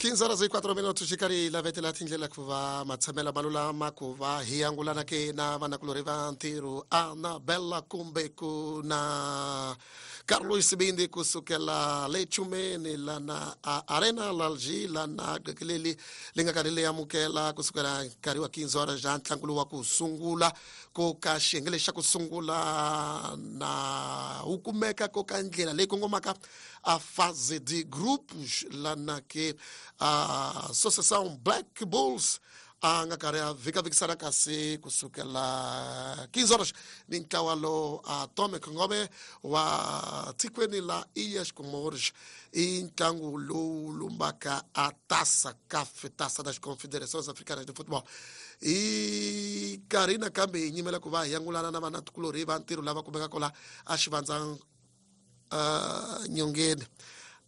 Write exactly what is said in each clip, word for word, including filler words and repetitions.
quinze horas e quatro minutos xi karhi hi lavetela tindlela ku va matshamela ma lulama ku va hi angulana ke na vanakulorhi va ntirho Anabella kumbe ku na Carlos Sibindi kusukela le Chumeni lana a Arena Lalji lana qekeleli li nga karhi li amukela kusukela nkarhi wa quinze horas ja ntlangu lowu wa ku sungula ko ka xiyenge lexi xa ku sungula na wu kumeka ko ka ndlela leyi kongomaka a fase de grupos lana ke a Associação Black Bulls a nga karhi a vhikavikisana kasi kusukela quinze horas ni ntlawa lowu a Tome Khongome wa tikweni la Ilhas Comores i ntlangu lowu lumbaka a Taça CAF, Taça das Confederações Africanas de Futebol. I nkarhi nakambe hi nyimela ku va hi angulana na vanatikulorhi va ntirho lava kumekaka la a xivandza uh, nyongeni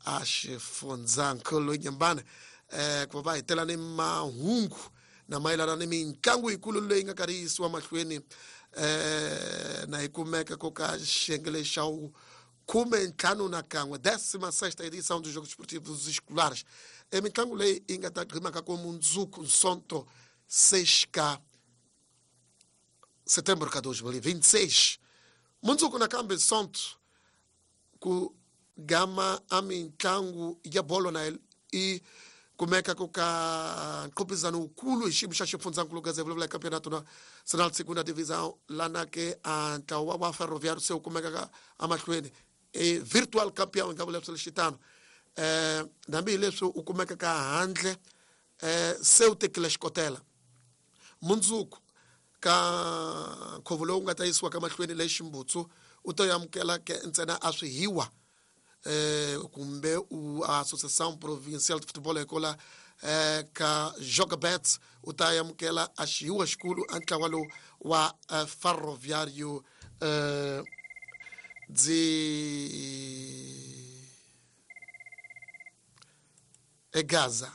a xifundzankulu Nyembane eh ku va hi tela ni mahungu na mayelana ni mitlangu yikulu leyi nga karhi yi yisiwa mahlweni eh na yi kumeka ko ka xiyenge lexa khume ntlhanu na kan'we décima sexta edição dos Jogos Esportivos Escolares. E mitlangu leyi yi nga ta gqimaka ko mundzuku Nsonto seis ka setembro ka dois mil e vinte e seis. Mundzuku nakambe Nsonto ku gama a mitlangu ya bolo na i kumeka ku ka nqopizano wukulu hi xiyimo xa xifundzankulu ka vulavula campeonato nacional segunda divisão lana ke a ntlawa wa Ferroviário se wu kumekaka emahlweni e virtual campeão hi nga vula swilo xitano eh hambi hi leswi u kumekaka handle eh se wu tekile xikotela mundzuku ka nkhuvo lowu nga ta yisiwa ka mahlweni le Ximbutsu u ta amukela ke ntsena a swihiwa eh kumbe u Associação Provincial de Futebol ekola eh ka Jogabet u ta amukela a xihiwa xikulu a ntlawa lowu wa uh, Ferroviário eh de Gaza.